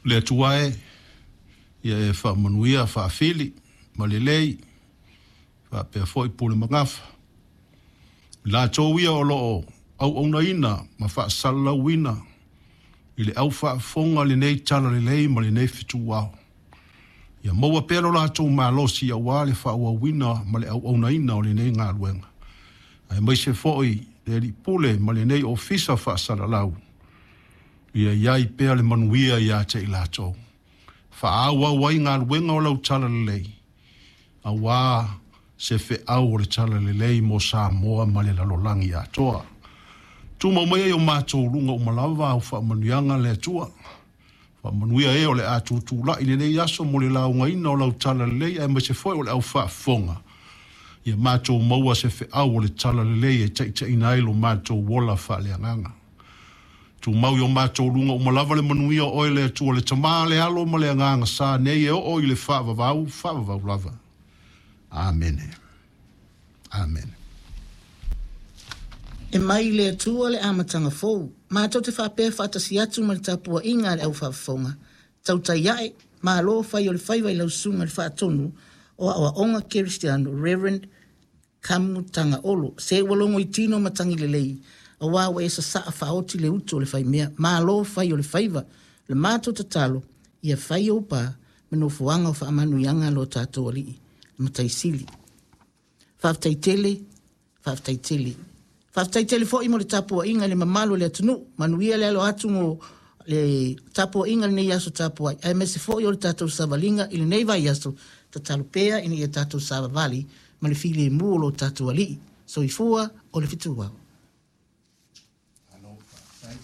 Le Atua e, ia e faamanuia Faafili ma Lelei faapea foi Pule ma Gafa. I latou ia o lo o auaunaina ma faasalalauina i le au faafofoga lenei talalelei ma lenei fetuao. Ia maua pea lo latou malosi aua le faaauauina ma le auaunaina o lenei galuega, aemaise foi le Alii Pule ma lenei ofisa faasalalau, ia i ai pea le manuia ia te i latou. Faaauau ai galuega o lau talalelei, aua se feau o le talalelei mo Samoa ma le lalolagi atoa. Tumau maia i o matou luga uma lava au faamanuiaga le Atua. Faamanuia e o le a tutulai lenei aso mo le laugaina o lau talalelei aemaise foi o le au faafofoga. Ia matou maua se feau o le talalelei e taitaiina ai lo matou ola faaleagaga. Tumau i o matou luga uma lava le manuia o oe le Atua le Tama, le Alo ma le Agaga Sa nei e oo i le faavavau, faavavau lava. Amene. Amene. E mai i le Atua le amataga fou, matou te faapea faatasi atu ma le tapuaiga a le au faafofoga, tautai ae, malo fai o le faiva i lau susuga i le Faatonu o Aoaoga Kerisiano, Rev. Kamu taga olo, se ua logo i tino matagi lelei, aua ua e sasaa faaoti le utu o le faimea. Malo fai o le faiva. O le matou tatalo, ia fai ou pa ma nofoaga o faamanuiaga a lo tatou Alii, le Matai Sili. Faafetai tele, faafetai tele. Faafetai tele foi mo le tapuaiga i le mamalu o le atunuu. Manuia le alo atu mo le tapuaiga i lenei aso tapuai, aemaise foi o le tatou savaliga i lenei vaiaso. Tatalo pea ina ia tatou savavali ma le filemu o lo tatou Alii. Soifua o le fetuao. Malo faafetai.